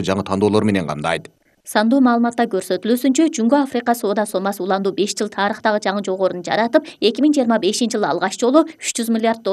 жаңы тандоолор менен камдайт. Сандуу маалыматта көрсөтүлүүсүнчө, Жумго Африка соода сомасы уланду 5 жыл тарыхтагы жаңы жогорун жаратып, 2025-жылы алгач жолу $300 миллиард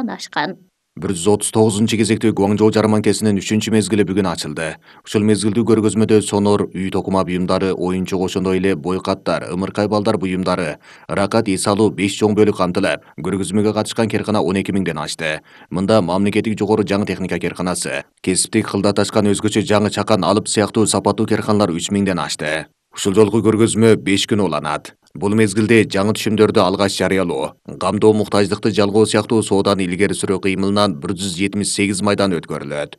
ашкан. 139 кезектүү жарманкесинин 3-мезгили бүгүн ачылды. Ушул мезгилдүү көргөзмөдө сонор, үй токума буюмдары, оюнчук ошондой эле бойкаттар, ымыркай балдар буюмдары, ыракат эс алуу 5 чоң бөлүк камтылып, көргөзмөгө катышкан керкана 12 миңден ашты. Мында мамлекеттик жогору жаңы техника керканасы, кесиптик кылдаташкан өзгөчө жаңы чакан алып сыяктуу сапаттуу керканалар 3 миңден ашты. Ушул жолку көргөзмө 5 күн уланат. Бул мезгилде жаңы түшүмдөрдү алгач жарыялоо, камдоо муктаждыкты жалгоо сыяктуу сооданы илгери сүрүү кыймылынан 178 майдан өткөрүлөт.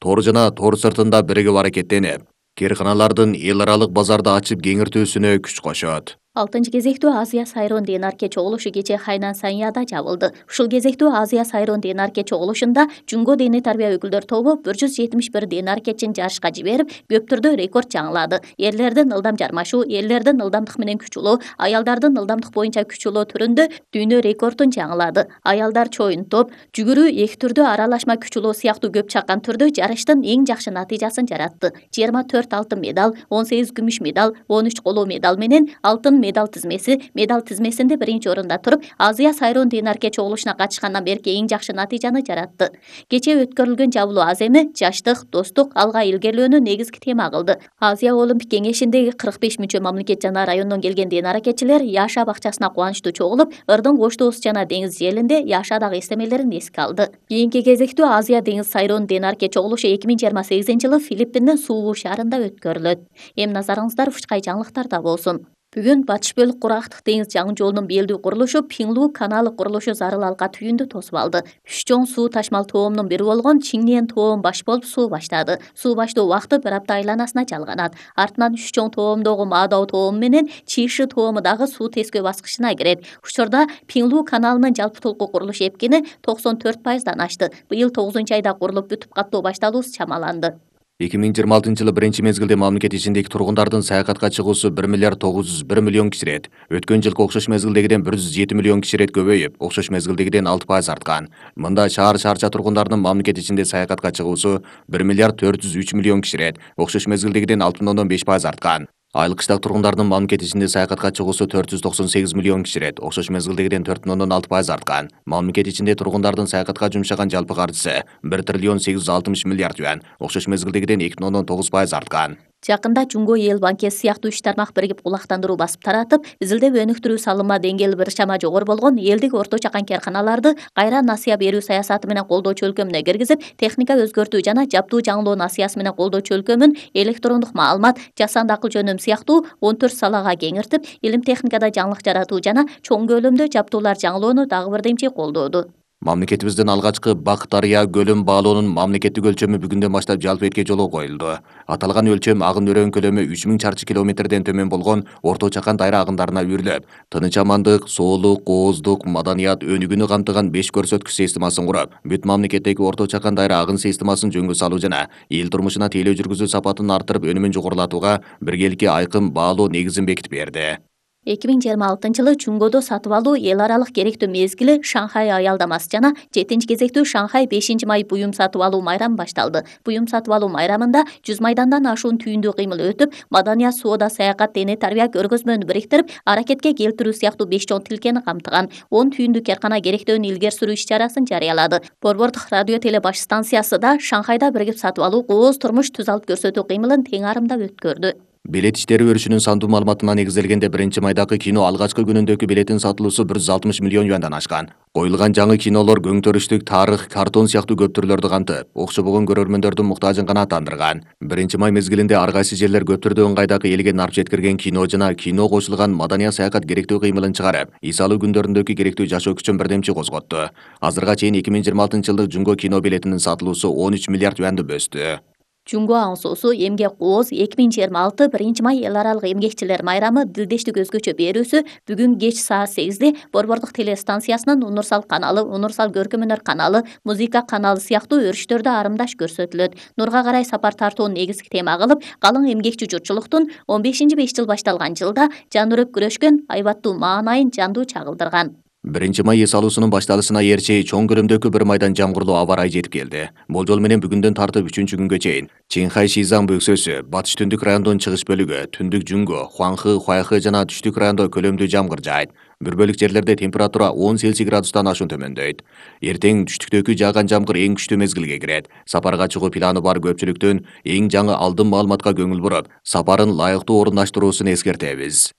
Тор жана тор сыртында биригип аракеттенип, керканалардын эл аралык базарда ачып кеңиртүүсүнө күч кошот. 6-кезектүү Азия сайрон Денарке чогулушу кечээ Хайнан Саньяда жабылды. Ушул кезектүү Азия сайрон Денарке чогулушунда Жунго дене тарбия өкүлдөр тобу 171 денаркечин жарышка жиберип, көп түрдө рекорд жаңылады. Эрлердин ылдам жармашуу, эрлердин ылдамдык менен күч улоо, аялдардын ылдамдык боюнча күч улоо түрүндө дүйнө рекордун жаңылады. Аялдар чоюн топ, жүгүрүү эки түрдө аралашма күч улоо сыяктуу көп чаккан түрдө жарыштын эң жакшы натыйжасын жаратты. 24 алтын медаль, 18 күмүш медаль, 13 коло медаль менен алтын медаль тизмесинде биринчи орунда туруп, Азия сайрон Денарке чогулушуна катышкандан берки эң жакшы натыйжаны жаратты. Кечээ өткөрүлгөн жабылуу аз эми жаштык, достук, алга илгерилөөнү негизги тема кылды. Азия олимпик кеңешиндеги 45 мүчө мамлекет жана райондон келген денаркечилер Яша бакчасына кубанычтуу чогулуп, ырдын кош доост жана деңиз желинде Яшадагы эстемелерин эске алды. Кийинки кезектүү Азия деңиз сайрон Денарке чогулушу 2028-жылы Филиппиндин Суву шаарында өткөрүлөт. Эми назарыңыздар ушкай жаңылыктарда болсун. Бүгүн батыш бөлүк кургактык деңиз жаңы жолунун белдүү курулушу Пиңлу каналы курулушу зарыл алка түйүндү тосуп алды. Үч чоң суу ташмал тоомдун бири болгон Чинниен тоом баш болуп суу баштады. Суу баштоо убакыты бир апта айланасына жалганат. Артынан үч чоң тоомдогу Мадао тоому менен Чиши тоому дагы суу тескөө баскычына кирет. Учурда Пиңлу каналынын жалпы толку курулуш эпкини 94%дан ашты. Быйыл 9-айда курулуп бүтүп каттоо башталуусу чамаланды. 2026-жылы биринчи мезгилде мамлекет ичиндеги тургундардын саякатка чыгуусу 1,901 миллион киширет. Өткөн жылкы окшош мезгилдегиден 107 миллион киширет көбөйүп, окшош мезгилдегиден 6% арткан. Мында шаар-шаарча тургундарынын мамлекет ичинде саякатка чыгуусу 1,403 миллион киширет, окшош мезгилдегиден 6,5% арткан. Айыл кыштак тургундардын мамлекет ичинде саякатка чыгуусу 498 миллион киширет, окшош мезгилдегиден 4,6% арткан. Мамлекет ичинде тургундардын саякатка жумшаган жалпы каржысы 1,860 миллиард юан, окшош мезгилдегиден 2,9% арткан. Жакында Жунго эл банкеси сыяктуу 3 тармак биригип кулактандыруу басып таратып, изилдеп өнүктүрүү салымы деңгээли бир чама жогору болгон элдик орто чакан керканаларды кайра насыя берүү саясаты менен колдоочу өлкөмүнө киргизип, техника өзгөртүү жана жаптуу жаңылоо насыясы менен колдоочу өлкөмүн электрондук маалымат, жасанды акыл жөнөм сыяктуу 14 салага кеңиртип, илим техникада жаңылык жаратуу жана чоң көлөмдө жаптуулар жаңылоону дагы бир демчи колдоду. Мамлекетибиздин алгачкы Бак Дарыя көлүн баалоонун мамлекеттик өлчөмү бүгүндөн баштап жалпы этке жолго коюлду. Аталган өлчөм агын өрөөн көлөмү 3000 чарчы километрден төмөн болгон орто чакан дайра агындарына үйрүлөп, тыныч амандык, соолук, кооздук, маданият өнүгүүнү камтыган 5 көрсөткүч системасын куруп, бүт мамлекеттеги орто чакан дайра агын системасын жөнгө салуу жана эл турмушуна тейлөө жүргүзүү сапатын арттырып өнүмүн жогорулатууга биргеликке айкын баалоо негизин бекитип берди. 2026-жылы Чунгодо сатып алуу эл аралык керектүү мезгили Шанхай аялдамасы жана 7-кезектүү Шанхай 5-май буюм сатып алуу майрамы башталды. Буюм сатып алуу майрамында 100 майдандан ашуун түйүндүү кыймыл өтүп, маданият, соода, саякат, дене тарбия көргөзмөнү бириктирип, аракетке келтирүү сыяктуу 5 чоң тилкени камтыган 10 түйүндүү керкана керектөөнү илгери сүрүү иш-чарасын жарыялады. Борбордук радио теле баш станциясы да Шанхайда биригип сатып алуу, кооз турмуш түз алып көрсөтүү кыймылын тең арымдап өткөрдү. Билет иштери өрүшүнүн сандуу маалыматына негизделгенде биринчи майдагы кино алгачкы күнүндөгү билеттин сатылуусу 160 миллион юандан ашкан. Коюлган жаңы кинолор көңтөрүштүк, тарых, картон сыяктуу көп түрлөрдү камтып, окшобогон көрөрмөндөрдүн муктажын канааттандырган. 1-май мезгилинде ар кайсы жерлер көп түрдүү ыңгайдагы элге нарп жеткирген кино жана кино кошулган маданият саякат керектүү кыймылын чыгарып, эс алуу күндөрүндөгү керектүү жашоо күчүн бирдемчи козготту. Азырга чейин 2026-жылдык Жунго кино билетинин сатылуусу 13 миллиард юанды бөстү. Жунго аңсоосу эмгек кооз 2026 1-май эл аралык эмгекчилер майрамы дилдештик өзгөчө берүүсү бүгүн кеч саат 8-де Борбордук телестанциясынын Унурсал каналы, Унурсал көркөм өнөр каналы, музыка каналы сыяктуу өрүштөрдө арымдаш көрсөтүлөт. Нурга карай сапар тартууну негизги тема кылып, калың эмгекчи журтчулуктун 15-5 жыл башталган жылда жан үрүп күрөшкөн айбаттуу маанайын жандуу чагылдырган. 1 май эс алуусунун башталышына ээрчи чоң көлөмдөгү бир майдан жамгырлуу аба ырайы жетип келди. Болжол менен бүгүндөн тартып 3-күнгө чейин Чинхай Шизан бөксөсү, батыш түндүк райондун чыгыш бөлүгү, түндүк Жунго, Хуанхы, Хуайхы жана түштүк райондо көлөмдүү жамгыр жаайт. Бир бөлүк жерлерде температура 10 Цельсий градустан ашуун төмөндөйт. Эртең түштүктөгү жааган жамгыр эң күчтүү мезгилге кирет. Сапарга чыгуу планы бар көпчүлүктүн эң жаңы алдын маалыматка көңүл буруп, сапарын лайыктуу орундаштыруусун эскертебиз.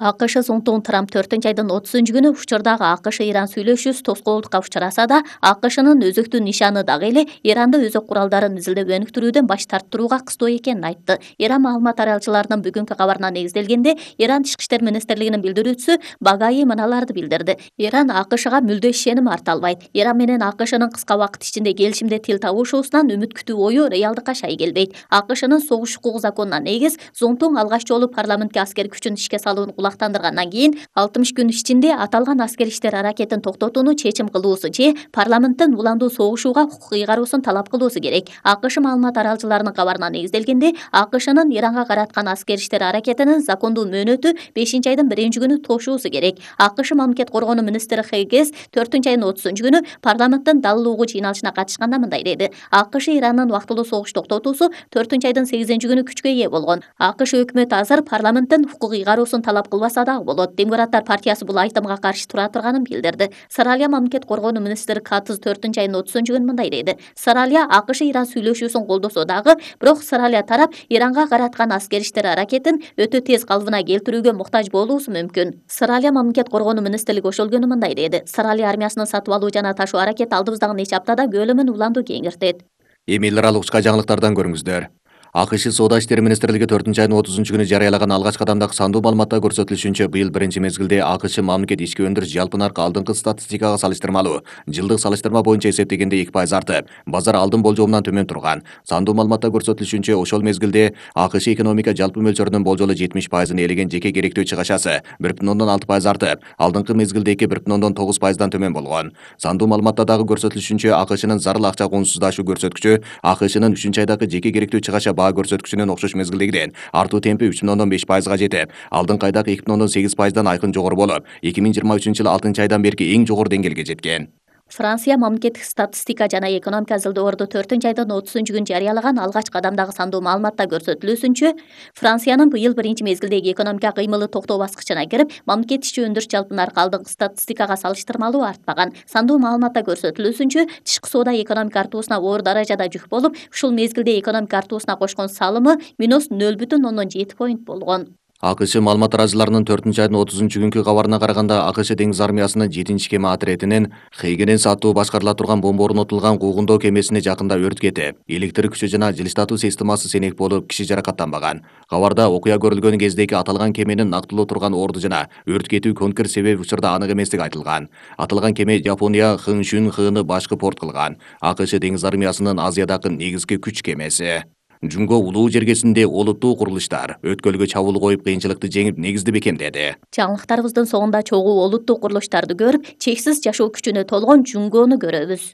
АКШ Зонтун Трамп 4-айдын 30-күнү учурдагы АКШ-Иран сүйлөшүүсү тоскоолдукка учураса да, АКШнын өзөктүү нишаны дагы эле Иранды өзөк куралдарын изилдеп өнүктүрүүдөн баш тарттырууга кыстоо экенин айтты. Иран маалымат таралчыларынын бүгүнкү кабарына негизделгенде, Иран Тышкы иштер министрлигинин билдирүүчүсү Багаи мыналарды билдирди. Иран АКШга мүлдө ишеним арта албайт. Иран менен АКШнын кыска убакыт ичинде келишимде тил табышуусунан үмүт күтүү ою реалдыкка шай келбейт. АКШнын согуш укугу законуна негиз Зонтун алгач жолу парламентке аскер күчүн ишке салууну тандыргандан кийин 60 күн ичинде аталган аскер иштер аракетин токтотууну чечим кылуусу же парламенттен уландуу согушууга укук ыйгаруусун талап кылуусу керек. АКШ маалымат таралчыларынын кабарына негизделгенде, АКШнын Иранга караткан аскер иштер аракетинин закондуу мөөнөтү 5-айдын 1-күнү тошуусу керек. АКШ мамлекет коргонуу министри Хейгес 4-айдын 30-күнү парламенттин далыл угуу жыйналышына катышканда мындай деди. АКШ Ирандын убактылуу согуш токтотуусу 4-айдын 8-күнү күчкө ээ болгон. АКШ өкмөтү азыр парламенттен укук ыйгаруусун талап кылбаса дагы болот. Демократтар партиясы бул айтымга каршы тура турганын билдирди. Саралия мамлекет коргонуу министри Катыз 4-айдын 30-күнү мындай деди. Саралия АКШ Иран сүйлөшүүсүн колдосо дагы, бирок Саралия тарап Иранга караткан аскер иштер аракетин өтө тез калыбына келтирүүгө муктаж болуусу мүмкүн. Саралия мамлекет коргонуу министрлиги ошол күнү мындай деди. Саралия армиясынын сатып алуу жана ташуу аракети алдыбыздагы нече аптада көлөмүн уланду кеңиртет. Эми эл аралык учка жаңылыктардан көрүңүздөр. АКШ Соода иштери министрлиги 4-айдын 30-күнү жарыялаган алгачкы кадамдагы сандуу маалыматта көрсөтүлүшүнчө, быйыл биринчи мезгилде АКШ мамлекет ички өндүрүш жалпы наркы алдыңкы статистикага салыштырмалуу жылдык салыштырма боюнча эсептегенде 2% артып, базар алдын болжомунан төмөн турган. Сандуу маалыматта көрсөтүлүшүнчө, ошол мезгилде АКШ экономика жалпы мөлчөрүнүн болжолу 70%ын ээлеген жеке керектүү чыгашасы 1,6% артып, алдыңкы мезгилдеги 1,9%дан төмөн болгон. Сандуу маалыматта дагы көрсөтүлүшүнчө, АКШнын зарыл акча куунсуздашуу көрсөткүчү АКШнын 3-айдагы жеке керектүү чыгаша баа көрсөткүчүнүн окшош мезгилдегиден артуу темпи 3,5%га жетип, алдыңкы айдагы 2,8%дан айкын жогору болуп, 2023-жылы 6-айдан берки эң жогору деңгээлге жеткен. Франция мамлекеттик статистика жана экономика ылдоорду 4-айдын 30-күнү жарыялаган алгачкы кадамдагы сандуу маалыматта көрсөтүлүүсүнчө, Франциянын быйыл биринчи мезгилдеги экономика кыймылы токтоо баскычына кирип, мамлекет ички өндүрүш жалпы наркы алдыңкы статистикага салыштырмалуу артпаган. Сандуу маалыматта көрсөтүлүүсүнчө, тышкы соода экономика артуусуна оор даражада жүк болуп, ушул мезгилде экономика артуусуна кошкон салымы -0,07 поинт болгон. АКШ маалымат тараачыларынын 4-айдын 30-күнкү кабарына караганда, АКШ деңиз армиясынын 7-чи кеме отрядынын Хейгенен сааттуу башкарыла турган бомба орнотулган куугундоо кемесине жакында өрт кетип, электр күчү жана жылыштатуу системасы сенек болуп, киши жаракаттанбаган. Кабарда окуя көрүлгөн кездеги аталган кеменин нактылуу турган орду жана өрт кетүү конкрет себеби учурда анык эместиги айтылган. Аталган кеме Жапония Хыншүн хыны башкы порт кылган. АКШ деңиз армиясынын Азиядагы негизги күч кемеси. Жунго улуу жергесинде олуттуу курулуштар өткөлгө чабуул коюп кыйынчылыкты жеңип негизди бекемдеди. Жаңылыктарыбыздын соңунда чогуу олуттуу курулуштарды көрүп, чексиз жашоо күчүнө толгон Жунгону көрөбүз.